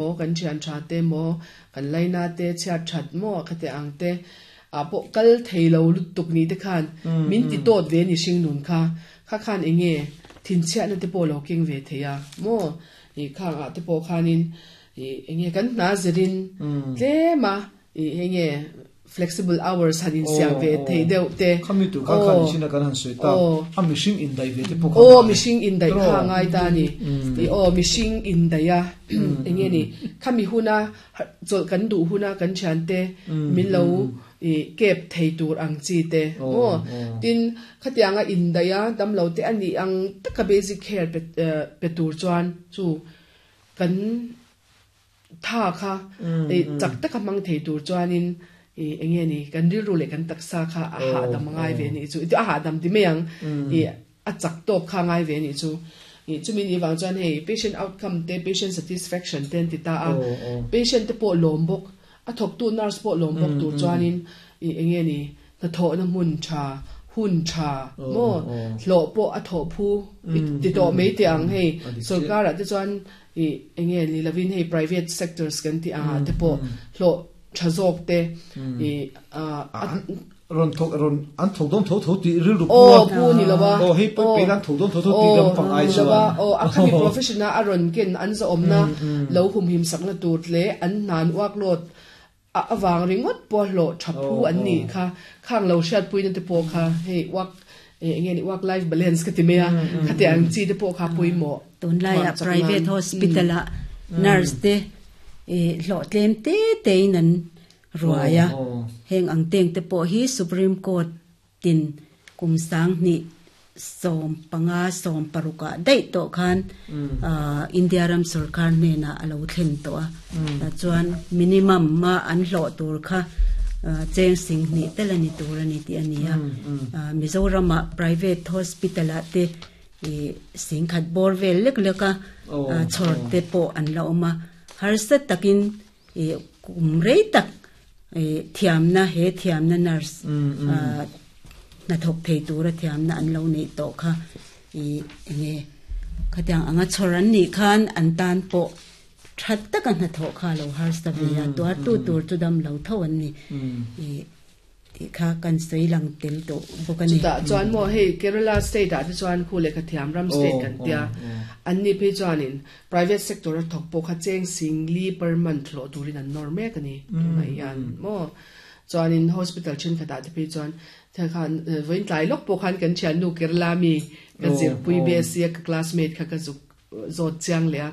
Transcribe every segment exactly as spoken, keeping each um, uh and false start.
Maw kan thian tha te maw kan laina te chhiat that maw khate ang te ah pawh kal thei lo lutuk ni te khan min ti tawt ve ni hring nun kha kha khan enge thinchhiatna te pawh lo keng ve thei a maw ih khang ah te pawh khanin ih enge kan hna zirin tlem a ih enge flexible hours han insiam ve thei deuh te Khami tur kha khan china kan han soi ta a mihring in dai ve te pawh aw mihring in dai kha ngai ta ni i aw mihring in dai a enge ni khami huna chawlh kan duh huna kan thian te min lo i kep thei tur ang chi te maw tin khatianga in dai a damlo te ani ang taka basic care pe pe tur chuan chu kan tha kha e chak taka mang thei tur chuanin i enge ni kan rilru leh kan taksa kha a ha dam ngai ve ni chu a ha dam ti mai ang i a chak tawk kha ngai ve ni chu i chumi ni wang chuan hei patient outcome te patient satisfaction ten ti ta a patient te pawh lawm bawk a thawk tu nurse pawh lawm bawk tur chuanin i enge ni hnathawh na hmun tha hun tha maw hlawh pawh a thawh phu ti tawh mai te ang hei sarkar ah te chuan i enge ni lovin hei private sectors kan ti anga te pawh hlawh tha zawk te i a ron thok ron an thok dom tho tho ti ril ru aw pu ni lova aw hei pe pe an thok dom tho tho ti lam pang ai chuan aw a khami professional a ron ken an za omna lo hum him sakna tur le an nan workload a awang ringot po hlo thaphu an ni kha khang lo hriat pui na te po kha hei work enge ni work life balance ka ti me a khate ang chi te po kha pui mo tun lai a private hospital a nurse te e hlo tlem te te in an ruaya heng ang teng te pawh hi Supreme Court tin kum sang ni som panga som paruka dei to khan India ram sarkar ne na alo thlen to a chuan minimum ma an hlo tur kha cheng sing ni telani tur ani ti ania Mizoram private hospital a te e sing khat bor vel lek leka chhor te po an la oma har sa takin e kum rei tak e thiam na he thiam na nurse na thok thei tura thiam na an lo nei to kha e enge khatiang anga chhoran ni khan an tan po that taka na tho kha lo har sa ve ya to tu tur chu dam lo tho an ni e ti kha kan sei lang tel to bokani chuta chuan mo hei Kerala state a te chuan khu le kha thiam ram state kan tia an ni phe chuanin private sector a thok po kha cheng sing li per month lo turin an nor mek ani tunai yan mo chuanin hospital chen khata te phe chuan the khan voin tlai lok po khan kan thian nu Kerala mi kan zir pui be sia ka classmate kha ka zuk zot chiang le a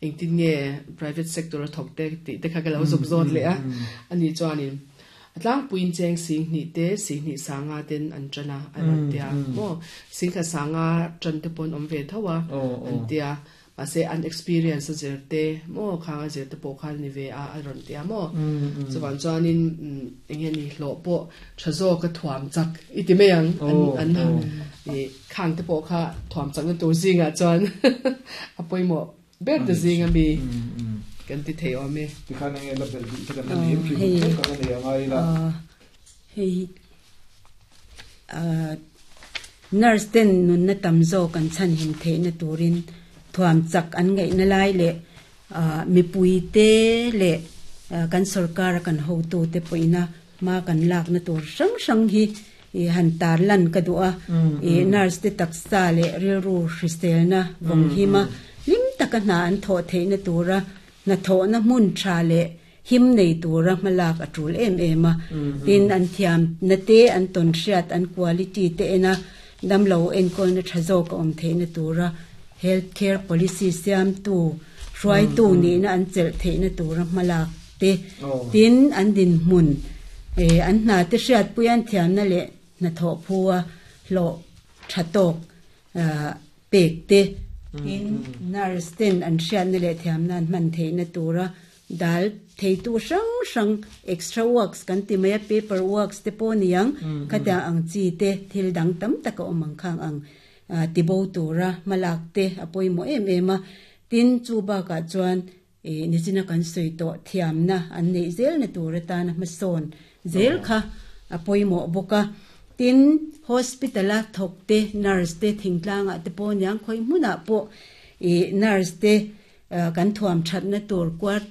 eng tin nge private sector a thok te ti te kha ka lo zuk zot le a ani chuanin atlang puin cheng sing ni te sing ni sanga ten an chana an tia mo sing kha sanga chan te pon om ve thawa an tia ma se an experience a zer te mo khanga zer te po khan ni ve a ron tia mo chuan chuanin enge ni hlo po thazo ka thuam chak iti meyang an an e khang te po kha thuam chak na tur zinga chuan apoi mo ber te zinga mi kan ti thei ome ti khan nge la bel bi kan ni em ki kan ni ngai la hei a nurse ten nun na tamzo kan chan him the na turin thuam chak an ngai na lai le mi pui te le kan sarkar kan ho tu te poina ma kan lak na tur sang sang hi e han tar lan ka dua e nurse te taksa le ril ru hristel na vong hi ma lim taka na an tho the na tura na tho na mun tha le him nei tura malak atul em em a tin an thiam na te an ton hriat an quality te ena dam lo en kol na thazo ka om the na tura health care policy siam tu hruai tu ni na an chel the na tura malak te tin an din mun e an na te hriat puyan thiam na le na tho phuwa lo thatok pek te in nurse ten an hriat na le thiam nan man the na tura dal thei tu sang sang extra works kan ti mai paper works te po niang khata ang chi te thil dang tam taka omang khang ang ti bo tura malak te apoi mo em em a tin chu ba ka chuan e nichina kan soi to thiam na an nei zel na tura ta na mason zel kha apoi mo boka tin hospital a thok te nurse te thingtlanga te po niang khoi muna po e nurse te kan thuam that na tur quarter